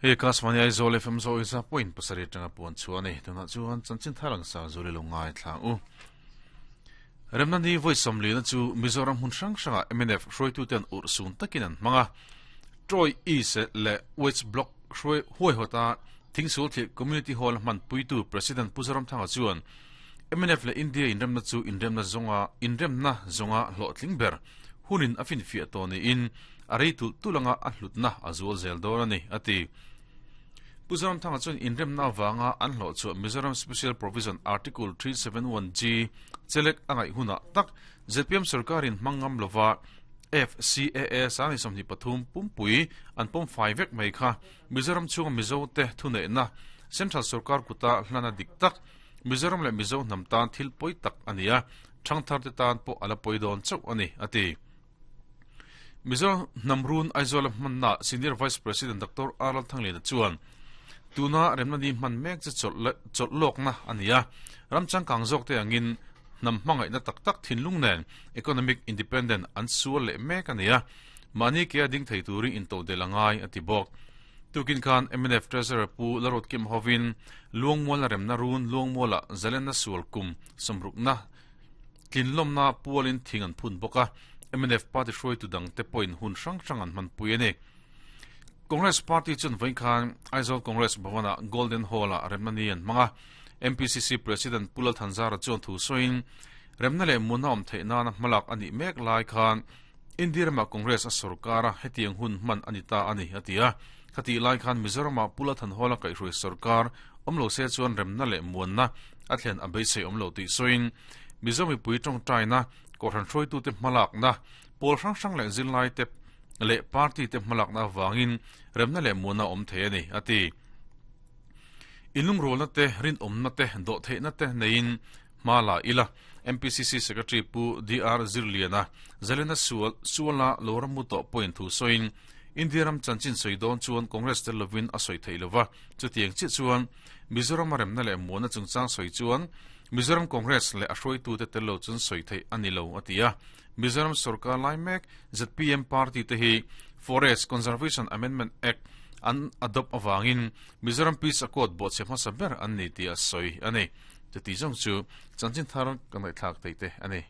Hei Akashvani Aizawl FM zawi za point pasarih atanga puan chhuah a ni. Tunah chuan chanchin thar ang sang zul i lo ngaithla ang u. Remna ni vawi sawmlina chu Mizoram hmun hrang hrangah mnf hruaituten urh sun takin an hmang a. Troy East leh West Block hruai huaihawta Thingsul thlir Community Hall a hmanpuitu President Pu Zoramthanga chuan mnf leh India inremna chu inremna zawnga inremna zawnga hlawhtling ber hunin a finfiah tawh niin a rei tulh tulh anga a hlutna a zual zel dawn a ni, a ti. Pu Zoramthanga chuan inremna avanga an hlawh chhuah Mizoram Special Provision Article 371G chelek a ngaih hunah tak zpm sorkarin hmang ngam lova FCAA sang ni 23 pumpui an pawm fai vek mai kha Mizoram chhunga Mizote thuneihna Central sorkar kuta hlana dik tak Mizoram leh Mizo hnam tan thil pawi tak a ni a, thangtharte tan pawh a la pawi dawn chauh a ni, a ti. Mizo hnam run Aizawl-a hmanna Senior Vice President Doctor R Lalthangliana chuan tuna remna ni hman mek chu chawlh lawkna a ni a, ram changkang zawkte angin hnam hmangaihna tak tak thinlung nen economic independent an sual leh mek a ni a, mahni ke a ding thei turin intodelh a ngai a ti bawk. Tukin khan mnf Treasurer Pu Larut Kim hovin Luangmuala remna run Luangmuala zalenna sual kum sawmrukna Tlinlawmna pualin thing an phun bawk a, mnf party hruaitu dangte pawhin hun hrang hrang an hmanpui a ni. Congress party chuan vawiin khan Aizawl Congress Bhavan-ah Golden Hall-ah remna ni an hmang a, MPCC President Pu Lal Thanzara chuan thu sawiin, Remna leh munna awm theih nana hmalak a nih mek lai khan India ramah Congress a sorkar a, hetiang hun hman a ni ta a ni, a ti a. Khatih lai khan Mizoramah Pu Lal Thanhawla kaihhruai sorkar awm lo se chuan remna leh muanna a thlen a beisei awm lo tih sawiin Mizo mipui tawngtaina, Kohhran hruaitute hmalakna, pawl hrang hrang leh zirlaite leh party te hmalakna avangin remna leh muanna a awm thei a ni, a ti. Inlungrualna te, rinawmna te, dawhtheihna te neiin hma la ila. MPCC Secretary Pu DR Zirliana, Zalena Sual, Suala lo rammu tawh pawhin thu sawiin, India ram chanchin sawi dawn chuan Congress tel lovin a sawi theih lova, chutiang chiah chuan Mizoram a remna leh muanna chungchang sawi chuan Mizoram Congress leh a hruaitute tel lo chuan sawi theih a ni lo, a ti a. Mizoram sorkar lai mek zpm party te hi Forest Conservation Amendment Act an adopt avangin Mizoram Peace Accord bawhchhe hmasa ber an ni tih a sawi a ni. Chuti zawng chu chanchin thar ka ngaihthlak theih te a ni.